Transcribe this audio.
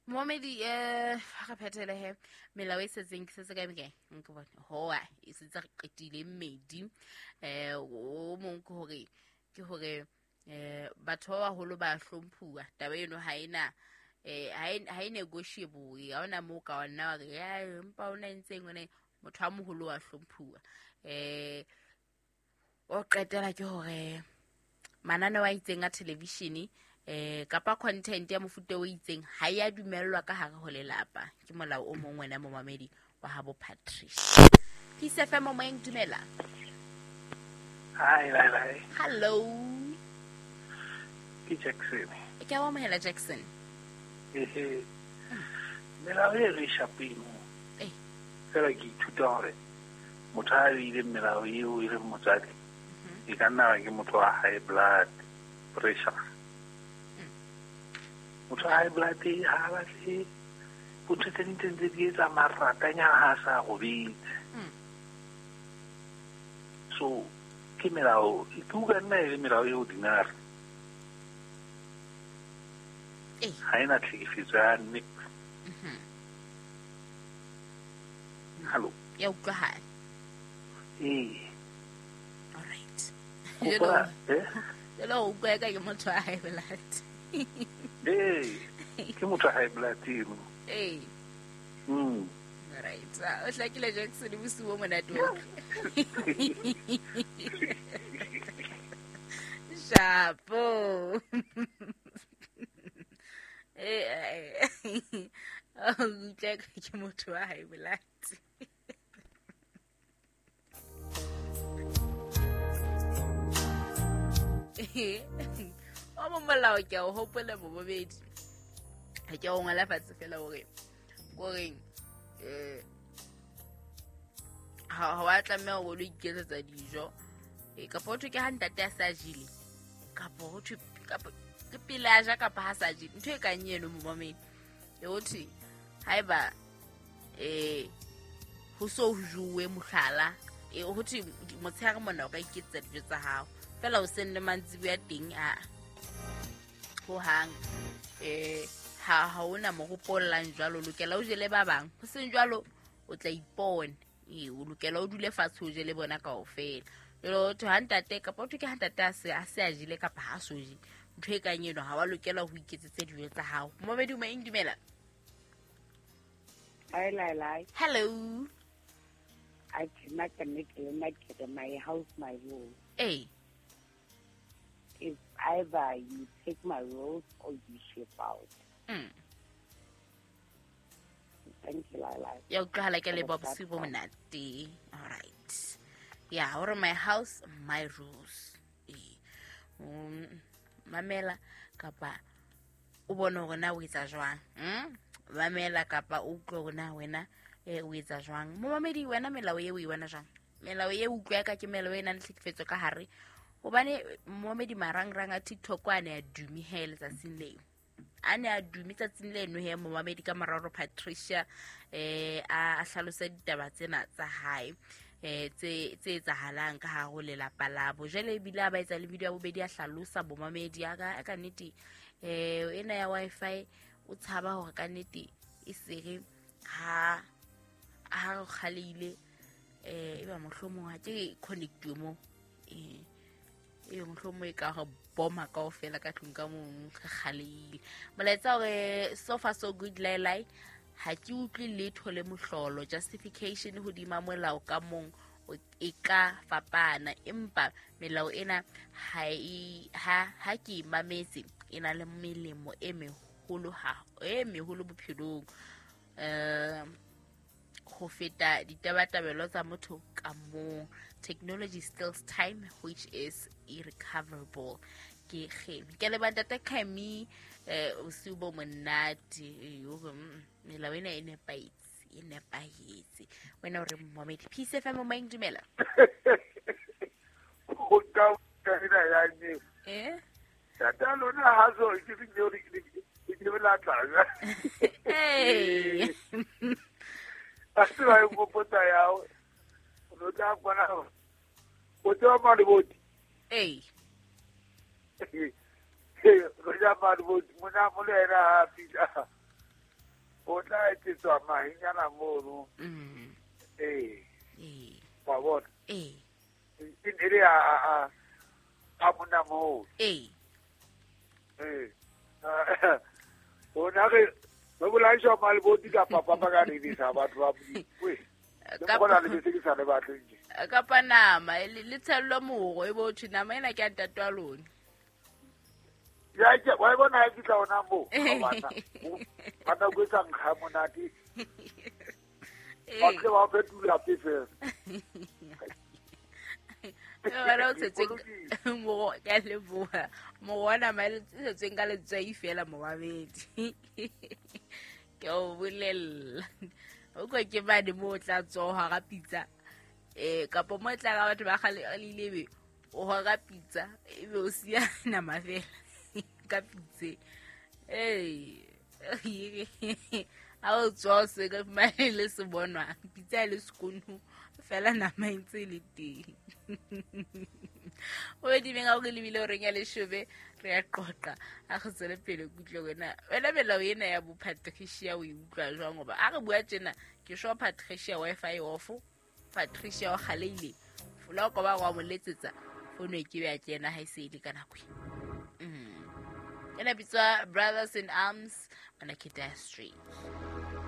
Momedi ga re phethele he melao e setseng ke setse kae kae nka bone hoa e setse re qetile mmedi. O mong ke hore batho ba baholo ba hlomphuwa. Taba eno ha ena ha e negotiable, ha ona moo ka nna wa re ya empa ona entseng one motho a moholo wa hlomphuwa. O qetela ke hore mananeo a itseng a television kapa content ya mofuta o itseng ha ya dumellwa ka hare ho lelapa. Ke molao o mong wena momamedi wa habo Patricia. Peace FM, moyeng, dumela. Hi, hi, hi. Hello. Ke Jackson. Ke a o amohela, Jackson. Ehe. Melao e re shapeng. Fela ke ithuta hore motho a beileng melao eo e leng motswadi e ka nna ke motho wa high blood pressure. Motho wa high blood ha a batle bontho tse ding tse ntse di etsa maratanyana ha a sa robetse. So ke melao ke utlwa nna e le melao e ordinary. Ha ena tlhekefetso ya nix. Hallo. Ya utlwahala. Ee. Alright. Hopola, eh? Jalo o utlwa ka ke motho wa high blood. Ee, ke motho wa high blood eno. Alright. O hlakile, Jackson, bosiu bo monate o. Shapo. O utlwa ka ke motho wa high blood. O mo molao ke a o hopola bobobedi. Ha ke o ngola fatshe fela hore koreng ha wa tlameha ho lo iketsetsa dijo, kapa ho thwe ke ha ntate a sa jele, kapa ho thwe kapa ke pele a ja kapa ha sa jele, ntho e kang eno momamedi. E ho thwe haeba ho so ho jowe mohlala, ho thwe motshehare mona o ka iketsetsa dijo tsa hao fela, o seng le mantsiboya teng a hohang ha hona moropo o llang jwalo, o lokela o jele ba bang, ho seng jwalo o tla ipona. O lokela o dule fatshe o jele bona kaofela. Jwale ho thwe ha ntate, kapa ho thwe ke ha ntate a se a jele kapa ha so je, ntho e kang eno ha wa lokela ho iketsetse dijo tsa hao. Momedi o eng, dumela. Hi, Lai. Hello. I cannot connect le my house, my rules. It's either you take my rules or you ship out. Thank you, Lai. Ya utlwahala, ke leboha, bosiu bo monate. Alright, ya hore my house, my rules. Ee. Mamela kapa o bone hore na o etsa jwang. Mamela kapa o utlwe hore na wena o etsa jwang. Momamedi wena, melao eo o e bona jwang? Melao e utlwa ka ke melao e nang le tlhekefetso ka hare, hobane momamedi marangrang a TikTok a ne a dume he letsatsing leo, a ne a dume tsatsing leno he momamedi, ka mora hore Patricia a hlalose ditaba tsena tsa hae tse etsahalang ka hare ho lelapa labo. Jwale ebile a ba etsa le video ya bobedi, a hlalosa bomamedi a ka nnete ena ya Wi-Fi o tshaba hore ka nnete e sere ha re kgaleile e ba mohlomong ha ke connectiwe mo e mohlomong e ka re boma kaofela ka tlung ka mong re kgaleile. Molaetsa hore so far so good, Lailai, ha ke utlwe letho le mohlolo. Justification hodima molao ka mong e ka fapana, empa melao ena ha ke e mametse e na le melemo e meholo, ha e meholo bophelong ho feta ditabatabelo tsa motho ka mong. Technology steals time which is irrecoverable. Ke Kgemi, ke leba ntate Kgemi, bosiu bo monate. Hore melao ena e nepahetse, e nepahetse. Wena o re momamedi? Peace FM, moyeng, dumela. Ho ka ena ya ne. Tata lona ha so ke ke la tla. Hey. A se ba nkopotsa ya o no tla kwana o tswa maliboti. Hey. Go ja maliboti mona mo le ena ha fihla. O tla etsetswa mahenyana mono. Ee. Ee. Wa bona? Ee. E ne le a a monna moo. Ee. Ee. Ona re re bolaiswa maleboti kapa papa ka redisa batho ba Modimo. Wee. Le bona le bese ke sa le batleng tje. Kapa nama le tshellwe moro e bo thwe nama ena ke ya ntate wa lona. Ya ke wa bona ha ke tla ona moo. Bana. Bana go etsa nkga monate. Ba tle ba fetola fela. Wena o tshetseng moro ke a leboha. Moro wa nama e tshetsweng ka letswai fela momamedi. Ke o bolella. O kwa ke mane mo o tla tswa hara pitsa. Kapa mo e tla ka batho ba kgale le ile be o hora pitsa ebe o siya nama fela ka pitse. Ha o tswa o se ka fumane le se bonwang pitsa e le sekono fela nama e ntse e le teng. O edimeng ga o re lebile o reng ya leshome re ya qoqa a re tswele pele kutlwe wena wena melao ena ya bo Patricia o e utlwa jwang goba a re bua tjena ke sure Patricia Wi-Fi off Patricia o galeile fola o koba wa mo letsetsa fono e ke be ya kena ha e se e le ka nako e. Ena bitswa Brothers in Arms bana ke Dire Straits.